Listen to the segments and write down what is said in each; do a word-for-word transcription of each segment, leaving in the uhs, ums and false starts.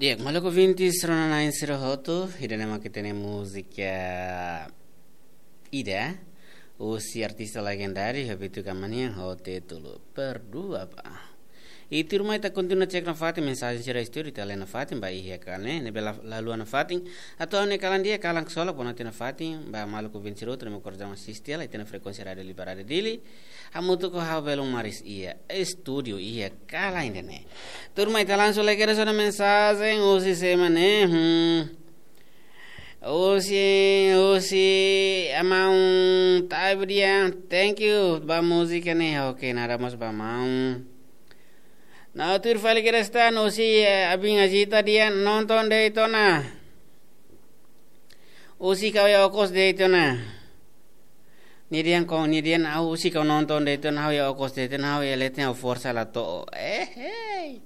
Di'ak, maluk ouvintes rona-na'in sira hotu, ida-ne'e mak ita-nia múzika ida, husi artista legendáriu, Roberto Camanha, ho títulu Perdua Ba. I tuirmai ita kontinua cek nafatin mensajen sira iha estúdiu, ita lee nafatin ba iha kalan ne'e, ne'ebé la, la haluha nafatin, atu ha'u-nia kalan di'ak, kalan ksolok, bonote nafatin ba maluk ouvintes sira hotu ne'ebé kordang asiste hela iha ita-nia frekuénsia Rádiu Liberdade Dili, hamutuk ho ha'u Belun Maris iha estúdiu iha kalan ida-ne'e. Tuirmai ita langsung lee kedas ona mensajen husi sé mak ne'e. Hmm. Husi, husi, amaun Taibdia, thank you ba múzika ne'e. Oke, nada mós ba maun. No tuir fali kedas tan, husi, eh, Abin Azita dehan nonton de'it ona. Husik ha'u iha okos de'it ona. Nia dehan ko, nia dehan ha'u husik ha'u nonton de'it ona, ha'u iha okos de'it ona, ha'u iha leten ha'u forsa la to'o. Eh, hei.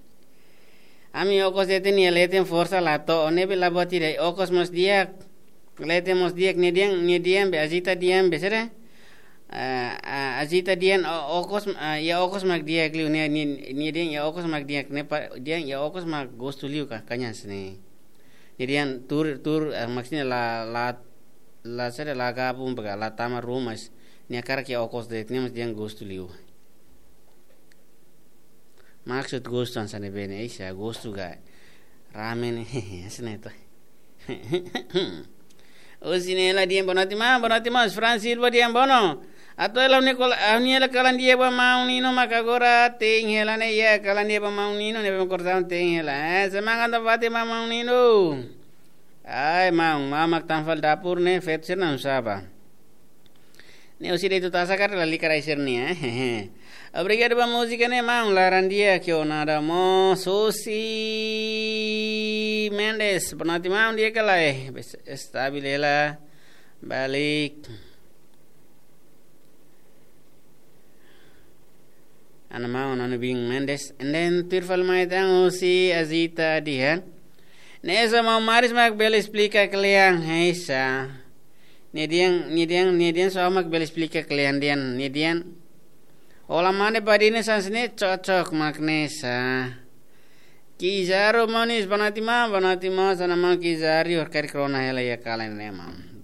Ami okos de'it ona iha leten forsa la to'o. Ne'ebé la buat ida, okos mós di'ak. Leten mós di'ak, nia dehan, nia dehan be Azita dehan be sira. Ah, ah, Azita dehan o-, okos, ah, iha okos mak di'ak liu, nia, nia, nia dehan iha okos mak di'ak, ne'e pa, dehan iha okos mak gostu liu ka, kanya sini. Nia dehan tuur, tuur, eh, maksudnya la, la, la sira la gabung baka la tama ruma, nia hakarak iha okos de'it, nia mós dehan gostu liu. Maksud gostu hanesan ne'ebé ne'e, isa gostu ka ramen, hanesan ne'e to. Husi Nela dehan bonote maun, bonote maun, Fran Silva dehan bonote. Atu hela ha'u-nia kol-, ha'u-nia hela kalan di'ak ba maun Nino maka agora te'in hela ne'e iha kalan di'ak ba maun Nino ne'ebé mak kordang te'in hela. Eh, semangat nafatin ba maun Nino. Ai, maun, maun mak tan fali dapur ne'e, feto sira na'in-saba. Ne'e husi de'it atu tasa karik lalika rai sira-nia, eh. Obrigadu ba múzika ne'e, maun, laran di'ak, ke o nada mós, husi Mendes, bonote maun, di'ak ka lae, bes-, estabil hela, balik. Ana maun, ana Abin Mendes. And then, tuir fali mai tan husi Azita dehan. Ne'e só maun Maris mak bele esplika kle'an, hanesan. Nia dehan, nia dehan, nia dehan só mak bele esplika kle'an dehan, nia dehan. Hola mane badine hanesan ne'e cocok mak hanesan. Kizaru manis, bonote maun, bonote maun, hanesan maun Kizaru, hor karik rona hela iha kalan ne'e maun.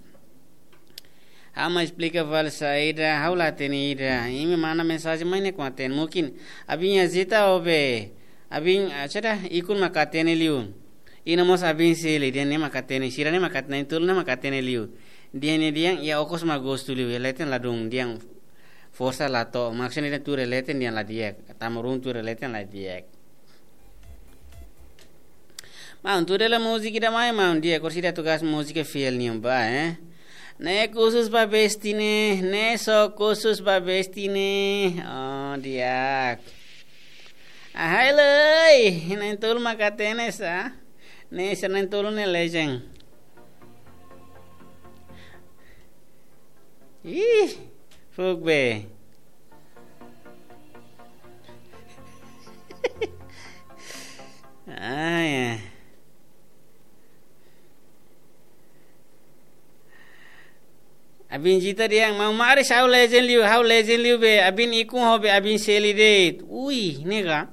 Ha'u mai esplika fali saida, ha'u la hatene ida. Imi manda mensajen mai ne'e kuandu hatene. Mungkin Abin Azita ou be Abin, ah, saida, Ikun mak hatene liu. Ina mós Abin Seli, dehan ne'e mak hatene, sira ne'e mak hatene, tolu ne'e mak hatene liu. Dehan ne'e dehan iha okos mak gostu liu, iha leten ladún, dehan forsa la to'o, maksudnya dehan tuur iha leten dehan la di'ak, tama ruma tuur iha leten la di'ak. Maun, tuur hela múzika ida mai, maun, di'ak, orsida tugas múzika fiel nian ba, eh. Ne'e khusus ba besti ne'e, ne'e só khusus ba besti ne'e. Oh, di'ak. Ahai lei, na'in-tolu mak hatene sa. Ne'e sira na'in-tolu ne'e legend. Ih, fuuk be. Ah, ya. Abin Zita dehan, maun Maris ha'u legend liu, ha'u legend liu be, Abin Ikun ho be, Abin Seli de'it. Ui, ne'e ka.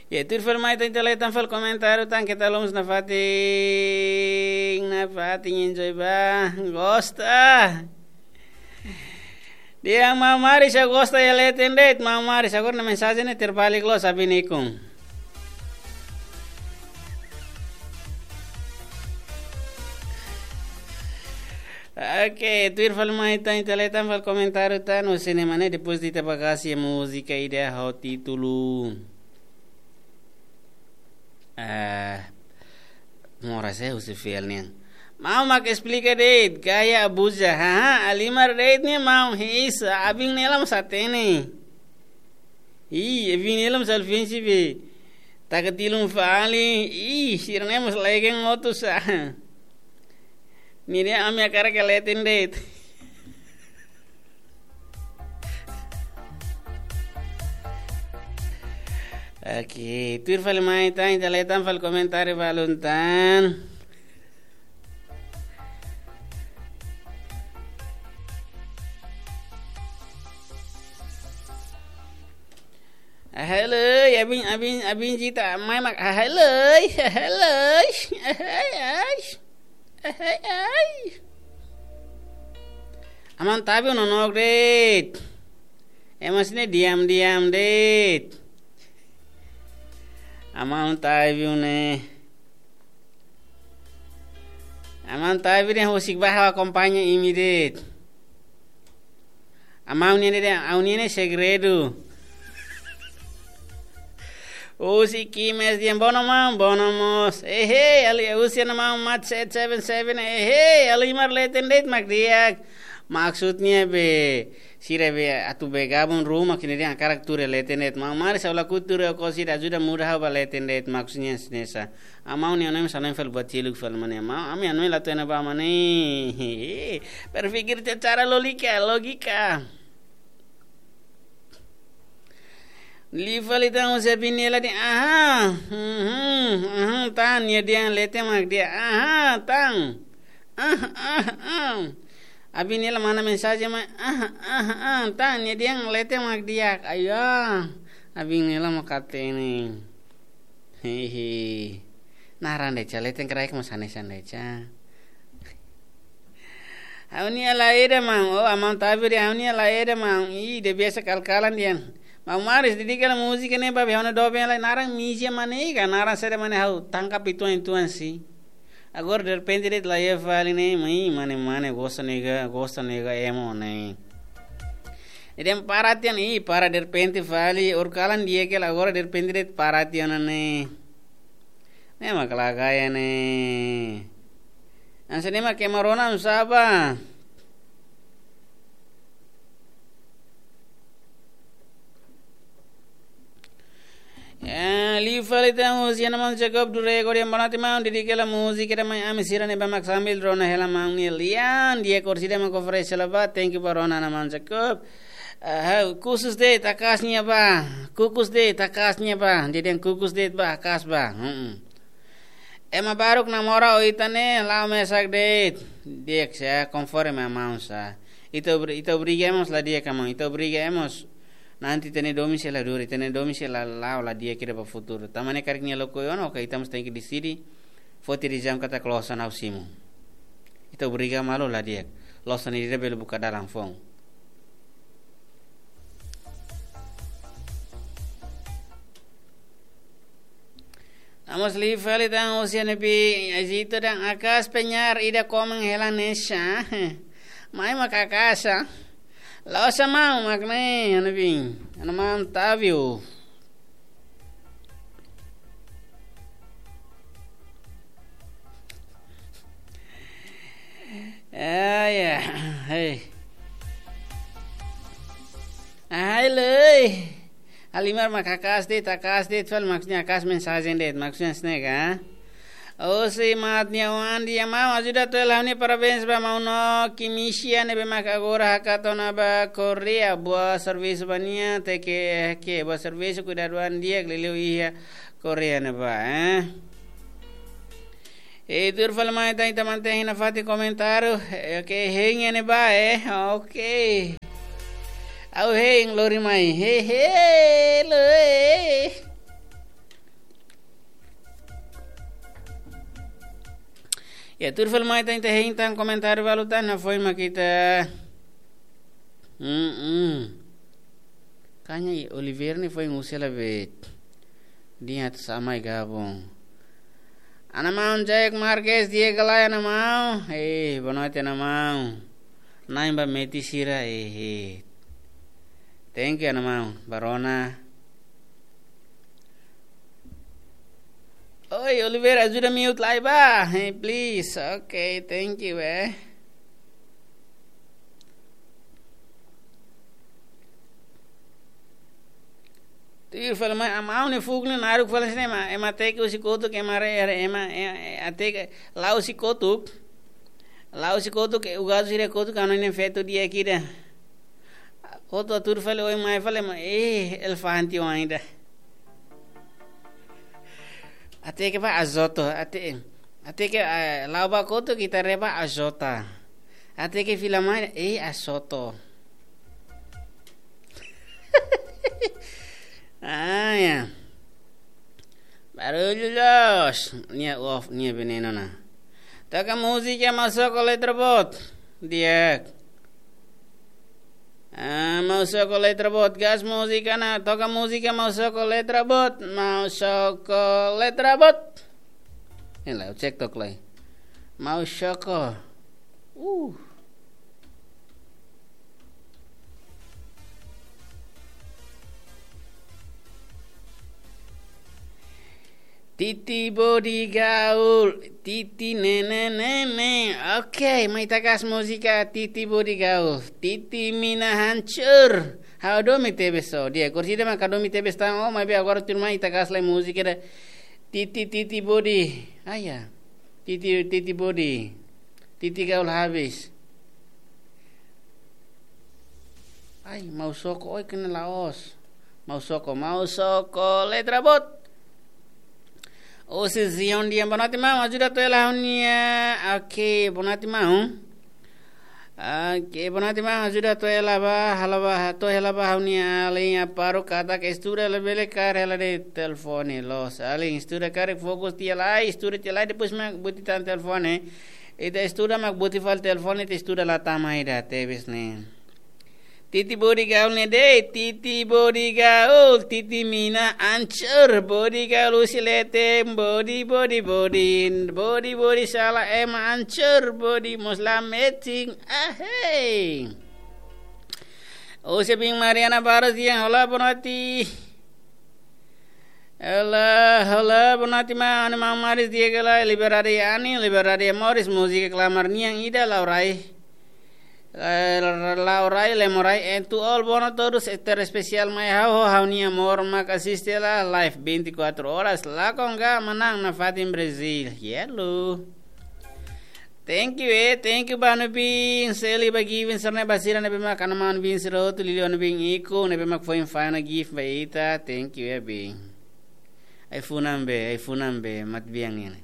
Ya, tuir fali mai tan, ita lee tan fali komentáriu tan, keta loos nafatin, nafatin enjoy ba, gosta. Dehan maun Maris ha'u gosta iha leten de'it, maun Maris, agora nia mensajen ne'e terbalik loos, Abin Ikun. Oke, tuir fali mai tan, ita lee tan fali komentáriu tan, husi ne'e mak ne'e, depois de ita bá kasi múzika ida ho títulu, eh, moras, eh, husi fiel nian. Maun mak esplika de'it, gaya abuza, haha, halimar de'it ne'e maun, heisa, Abin Nela mós hatene. Ih, Abin Nela mós ofensive. Taka tilun fali, ih, sira ne'e mós legend hotu sa. Nia dehan ami hakarak iha leten de'it. Oke, tuir fali mai tan, ita lee tan fali komentáriu balun tan. Ahai loi, abin, abin, abin Zita, mai mak, ahai loi, ahai loi, ahai, ai, ahai, ai. Aman Tabi nonook de'it. Ema sira-ne'e diam-diam de'it. Aman Tabi ne'e. Aman Tabi ne'e husik ba ha'u akompaña imi de'it. Aman ne'e de'it, aman ne'e segredu. Husik imi de'it, bono maun, bono mós. Ehe, ali husi aman Mat set seven seven. Ehe, Alimar leten de'it mak di'ak. Maksudnya be, sira be atu be gabung ruma kini dia karakter leten de'it. Maun Maris ha'u lakohi tuur ho sira ajuda muda ha'u ba leten de'it, maksudnya hanesan ne'e. Aman ne'e onem sanai fel batiluk fel mane. Aman, ami anoi la tena ba mane. Berpikir secara logika, logika. Liu fali tan husi abin Nela de'it, aha, mhm, aha, tan, nia dehan leten mak di'ak, aha, tan, ah, ah, ah. Abin Nela manda mensajen mai, ah, ah, ah, tan, nia dehan leten mak di'ak, ayo, abin Nela mak hatene. Hehe. Naran de'it, leten kraik mós hanesan de'it. Ha'u-nia lae ida maun, oh, aman Tabi de'it, ha'u-nia lae ida maun, ih, de biasa kal-kalan dehan. Maun Maris, dedika hela múzika ne'e ba be ha'u-nia doben lai, naran misia mane ka, naran saida mane ha'u tangkap uitoan-uitoan si. Agora derrepente de'it laiha fali ne'e, mai mane-mane gosta nega, gosta nega emo ne'e. Dehan para tiha ona, ih, para derrepente fali, oras kalan di'ak hela, agora derrepente de'it para tiha ona ne'e. Ne'e mak lagaya ne'e. Hanesan ne'e mak ema rona nusá ba. Eh, liu fali tan husi aman Jacob Durego dehan boa noite maun, dedika hela múzika ida mai ami sira ne'ebá mak sambil rona hela maun Elian, di'ak oras ida mak oferese hela ba, thank you ba rona aman Jacob. Aha, kukus de'it, akas nia ba, kukus de'it, akas nia ba, dehan kukus de'it ba, akas ba. Hmm. Ema baruk namora ho ita ne'e, la'o mesak de'it. Di'ak sá, konforme aman sá. Ita obri-, ita obriga ema mós la di'ak aman, ita obriga ema mós. Nanti ita-nia domin sei la dura, ita-nia domin sei la, la'o la di'ak ida ba futuru. Tanba ne'e karik nia lakohi ona, oke, ita mós tenke deside. Foti desizaun katak loos ona ha'u simu. Ita obriga malu la di'ak. Loos ona ida bele buka dalan foun. Amos liu fali tan husi ne'ebé Egito dehan akas penyair ida komen hela ne'e sá. Mai mak akas sá. La'ós aman mak ne'e, ne'ebé. Aman Tabi. Ah, ya. Hei. Ahai loi. Alimar mak akas de'it, akas de'it, fali maksudnya akas mensajen de'it, maksudnya hanesan ne'e ka. Husi Mat nia oan dehan maun ajuda atu hela ha'u-nia parabéns ba maun Noki Misia ne'ebé mak agora hakat ona ba Korea. Boa servisu ba nia, te ke, ke, boa servisu, kuidadu an di'ak liuliu iha Korea ne'ebá, eh. Eh, tuir fali mai tan ita mantein nafatin komentáriu. Eh, oke, hein ne'ebá, eh. Oke. Ha'u hein lori mai. He, he, lo, eh. Ya, tuir fali mai tan ita hein tan komentáriu balu tan, nafatin mak ita. Mm-mm. Kanya i Oliver ne'e foin husi la bet. Dia tu samai gabung. Ana maun Jack Marquez, di'ak ka lae ana maun. Eh, boa noite ana maun. Nain ba meti sira, eh, eh. Thank you ana maun. Ba rona. Oi, Oliver, ajuda mute lai ba. Hey, please. Okay, thank you, eh. Tuir fali mai, aman ne'e fuk ne'e naruk fali sine ma, ema teke husi kotuk, ema re, re, ema, e, e, ateke, la'o husi kotuk. La'o husi kotuk, e, ugazu sira kotuk, anu ne'e feto di'ak ida. Kotuk tuir fali, oin mai fali, ma, eh, elefante oan ida. Ateke ba azoto, ate, ateke, eh, la'o ba kotuk ita reba azota. Ateke fila mai, eh, azoto. Ah, ya. Barullu loos. Nia off, nia veneno ona. Toka múzika, Mausoko, letra boot. Di'ak. Ah, Mausoko, letra boot. Gas múzika ona. Toka múzika, Mausoko, letra boot. Mausoko, letra boot. Inilah, cek tok lai. Mausoko. Uh. Titi Bodi Gaul, Titi nene nene. Oke, mai ita gas múzika Titi Bodi Gaul, Titi mina hancur. Ha'u domin tebes so. Di'ak, kursi ida mak ha'u domin tebes tan. Oh, maibé agora tuirmai ita gas lai múzika ida. Titi, Titi Bodi. Ah, ya. Titi, Titi Bodi. Titi Gaul habis. Ai, Mausoko, oi, kena laos. Mausoko, Mausoko, letra boot. Husi Zion Dian, boa noite, maun. Ajuda to'o hela ha'u-nia. Oke, boa noite, maun. Oke, boa noite, maun. Ajuda to'o hela ba, hela ba, to'o hela ba ha'u-nia alin Aparo katak estuda labele kaer hela de'it telefone loos. Alin estuda karik fokus tiha lai, estuda tiha lai, depois mak buti tan telefone. Ita estuda mak buti fali telefone, ita estuda la tama ida tebes ne'e. Titi Bodi Gaul ne'e de'it, Titi Bodi Gaul, Titi mina hancur, Bodi Gaul husi leten, Bodi, Bodi, Bodi, Bodi, Bodi sala ema hancur, Bodi mós la matching, ahei. Husi Bing Mariana Barros Dian, olá, boa noite. Olá, olá, boa noite, maun. Maun Maris di'ak ka lae, Liberdade Ani, Liberdade Moris, múzika klamar nian ida, Laurai. Eh, Laurai, Lemorai, and to all, boa noite todos, este espesiál mai ha'u, ha'u-nia amór mak asiste hela live vinte e quatro horas, lakon ga manán nafatin Brazil. Yellow. Thank you, eh. Thank you ba Nubin, Seli ba Givin, sira-ne'e ba sira ne'ebé mak hana'a Nubin sira hotu, liuliu Nubin Iko, ne'ebé mak foin fai ona gift ba ita. Thank you, eh, Bin. Ai-funan be, ai-funan be, mat biang ini.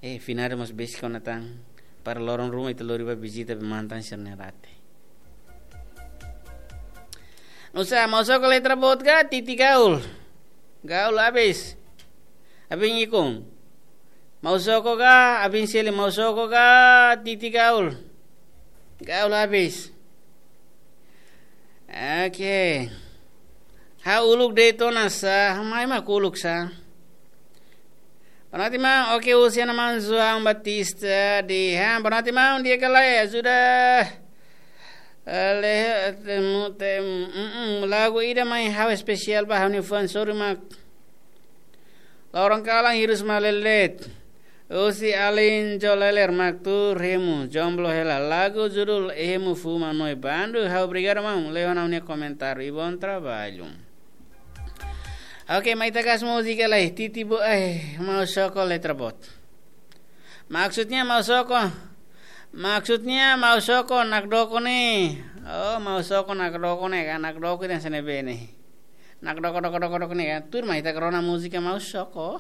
Eh, finada mós besik ona tan. Para loron ruma ita lori ba vizita be mantan sira-ne'e rate. Nusa, Mausoko, letra boot ka, Titi Gaul. Gaul habis. Abin Ikun. Mausoko ka, Abin Seli, Mausoko ka, Titi Gaul. Gaul habis. Oke. Ha'u uluk de'it ona sá, mai mak uluk sá. Boa noite, maun. Oke, husi hana'a maun João Batista de Han. Boa noite, maun. Di'ak ka lae, ajuda. Eh, le, temu, tem, mm, mm, lagu ida mai ha'u espesiál ba ha'u-nia fans, sorry mak. Loron kalan hirus malelet. Husi alin Joleler mak tuur hemu, jomblo hela, lagu judul Hemu Fuma Noibandu. Ha'u obrigadu, maun, lehon ha'u-nia komentáriu. E bom trabalho. Oke, mai ita gas múzika lai. Titi Bo, eh, Mausoko, letra boot. Maksudnya Mausoko. Maksudnya Mausoko nakdoko ne'e. Oh, Mausoko nakdoko ne'e ka, nakdoko ida hanesan ne'ebé ne'e. Nakdoko, doko, doko, doko ne'e ka. Tuirmai ita rona múzika Mausoko.